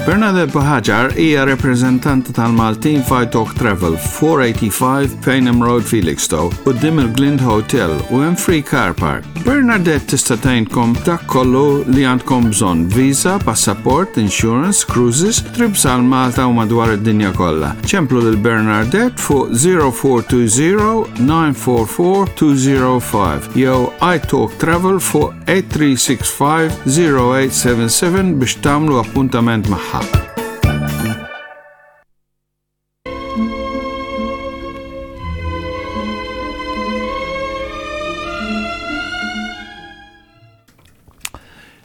Bernadette Buhagiar hija repreżentanta tal-Maltin f'Italk Travel, 485 Payneham Road, Felixstowe, quddiem il-Glind Hotel u hemm free car park. Bernadette tista' tgħinkom dak kollu li għandkom bżonn, visa, passaport, insurance, cruises, trips għal Malta u madwar id-dinja kollha. Ċemplu lil Bernadette fuq 0420 944 205 jew iTalk Travel fuq 8365 0877 biex tagħmlu appuntament magħha.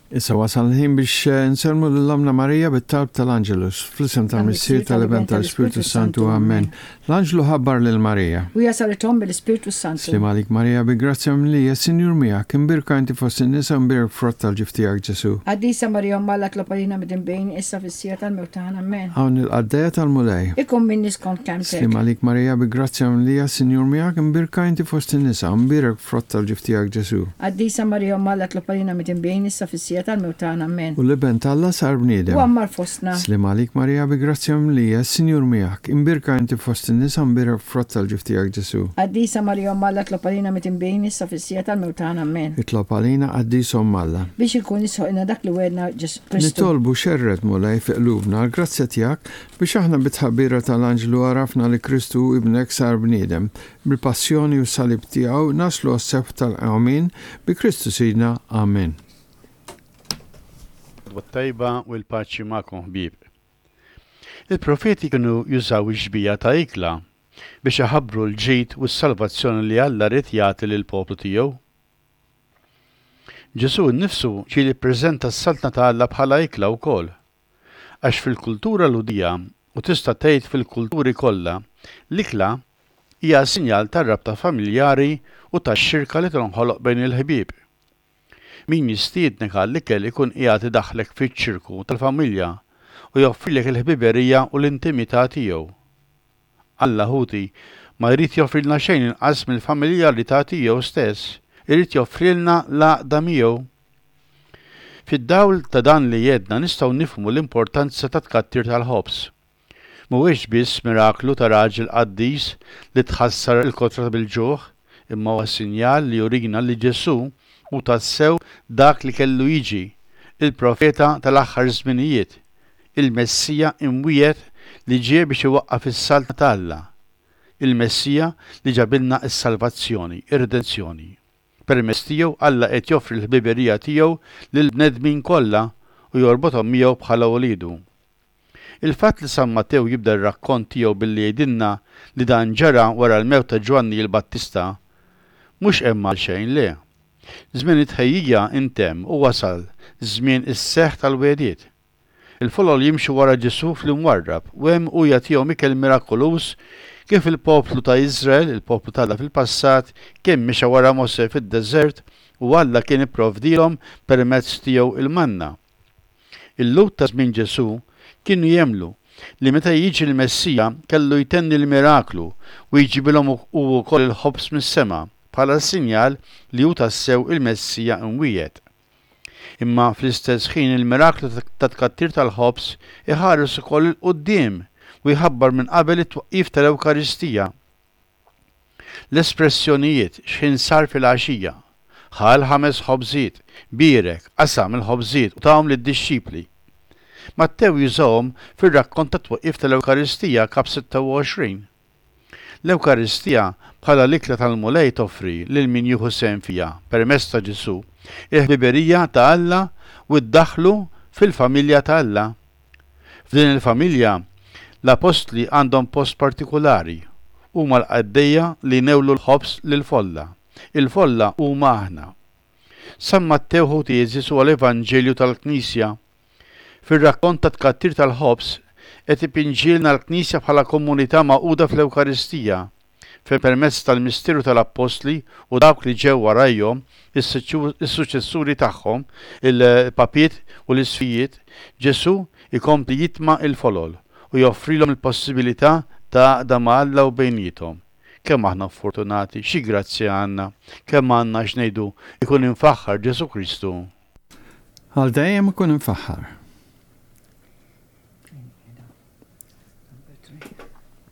Issa wasal l-ħin biex eh, nsellmu lill-Omna Marija bit-talb tal-Angelus, fl-isem tal-Missier tal-Iben tal-Ispirtu Santu. Amen. L-Anġlu ħabbar lil Marija. U hija saret omm mill-Ispirtu Santu. Sliem għalik Marija, bi grazzja mimlija, s-Sinjur miegħek, imbierka inti fost in-nisa u mbierek frott tal-ġuf tiegħek Ġesù. Qaddisa Marija Omm Alla tlob għalina midinbin, issa fis-siegħa tal-mewt tagħna. Amen. Hawn il-qaddejja tal-Mulej. Ikun minni skont kelmtek. Sliem għalik Marija, bi grazzja mimlija, s-Sinjur miegħek, imbierka inti fost in-nisa u mbierek frott tal-ġuf tiegħek Ġesù. Qaddisa Marija Omm Alla tlob għalina midinbin, issa fis-siegħa tal-mewt tagħna. Amen. U l-Iben t'Alla sar bniedem. U għammar fostna. Sliem għalik Marija bi grazzja mimlija, is-Sinjur miegħek, imbierka inti fost in-nisa u mbierek frott tal-ġuf tiegħek Ġesù. Qaddisa Marija Omm Alla tlob għalina midinbin, issa fis-siegħa tal-mewt tagħna. Amen. Itlob għalina Qaddisa Omm Alla. Biex ikun jisħoqilna dak li wegħedna Ġesù Kristu. Nitolbu xerred Mulej fi qlubna l-grazzja tiegħek biex aħna bit-tħabbira tal-Anġlu għarafna li Kristu Ibnek sar bniedem, Bil-passjoni u s-salib tiegħu naslu għas-sebħ tal-qawmien bi Kristu Sidna. Amen. L-għodwa t-tajba u l-paċi magħkom ħbieb. Il-profeti kienu jużaw ix-xbieha ta' ikla biex iħabbru l-ġid u s-salvazzjoni li Alla ried jagħti lill-poplu tiegħu. Ġesù nnifsu ġieli ppreżenta s-Saltna ta' Alla bħala ikla wkoll. Għax fil-kultura Lhudija, u tista' tgħid fil-kulturi kollha, l-ikla hija sinjal tar-rabta familjari u tax-xirka li tinħoloq bejn il-ħbieb. Min jistiednek għall-ikel ikun qiegħed idaħħlek fiċ-ċirku tal-familja u joffrilek il-ħbiberija u l-intimità tiegħu. Alla, ħuti, ma jrid joffrilna xejn inqas mill-familjarità tiegħu stess, irid joffrilna l-għaqda miegħu. Fid-dawl ta' dan li għedna nistgħu nifhmu l-importanza tat-tkattir tal-ħobż. Mhuwiex biss miraklu ta' raġel qaddis li tħassar il-kotra bil-ġuħ, imma huwa sinjal li jurina li Ġesù hu tassew dak li kellu jiġi, il-profeta tal-aħħar żminijiet, il-Messija imwiegħed li ġie biex iwaqqaf is-Saltna ta' Alla, il-Messija li ġabilna s-salvazzjoni, ir-redenzjoni. Permezz tiegħu Alla qed joffri l-ħbiberija tiegħu lill-bnedmin kollha u jorbothom miegħu bħala uliedu. Il-fatt li San Mattew jibda r-rakkont tiegħu billi jgħidilna li dan ġara wara l-mewt ta' Ġwanni l-Battista mhux hemm għalxejn, le. Żmien it-tħejjija ntemm u wasal żmien is-seħħ tal-wegħdiet. Il-folol jimxu wara Ġesù fl-imwarrab u hemm hu jagħtihom ikel mirakoluż kif il-poplu ta' Iżrael, il-poplu t'Alla fil-passat, kien mexa wara Mosè fid-deżert u Alla kien ipprovdielhom permezz tiegħu il-manna. Il-Lhud ta' żmien Ġesù kienu jemmlu li meta jiġi l-Messija kellu jtenni l-miraklu u jġibilhom hu wkoll il-ħobż mis-sema bħala sinjal li hu tassew il-Messija imwiegħed. Imma fl-istess ħin il-miraklu tat-tkattir tal-ħobż iħares ukoll 'il quddiem u jħabbar minn qabel it-twaqqif tal-Ewkaristija. L-espressjonijiet x'ħin sar filgħaxija, ħa l-ħames ħobżiet, bierek, qasam il-ħobżiet u tahom lid-dixxipli. Mattew jużahom fir-rakkont tat-twaqqif tal-Ewkaristija kap 26. L-Ewkaristija bħala l-ikla tal-Mulej toffri lil min jieħu sehem fiha, permezz ta' Ġesù, il-ħbiberija ta' Alla u ddaħħlu fil-familja ta' Alla. F'din il-familja, l-appostli għandhom post partikulari, huma l-qaddejja li jnewlu l-ħobż lill-folla. Il-folla huma aħna. San Mattew ħuti għeżież huwa l-Evanġelju tal-Knisja. Fir-rakkont tat-tkattir tal-ħobż, qed ipinġielna l-Knisja bħala komunità magħquda fl-Ewkaristija, fejn permezz tal-misteru tal-Appostli u dawk li ġew warajhom, is-suċċessuri tagħhom, il-Papiet u l-Isqfijiet, Ġesù jkompli jitma' l-folol u joffrilhom il-possibilità ta' għaqda ma' Alla u bejniethom. Kemm aħna ffortunati, xi grazzja għandna, kemm għandna x'ngħidu, ikun imfaħħar Ġesù Kristu! Għal dejjem ikun imfaħħar.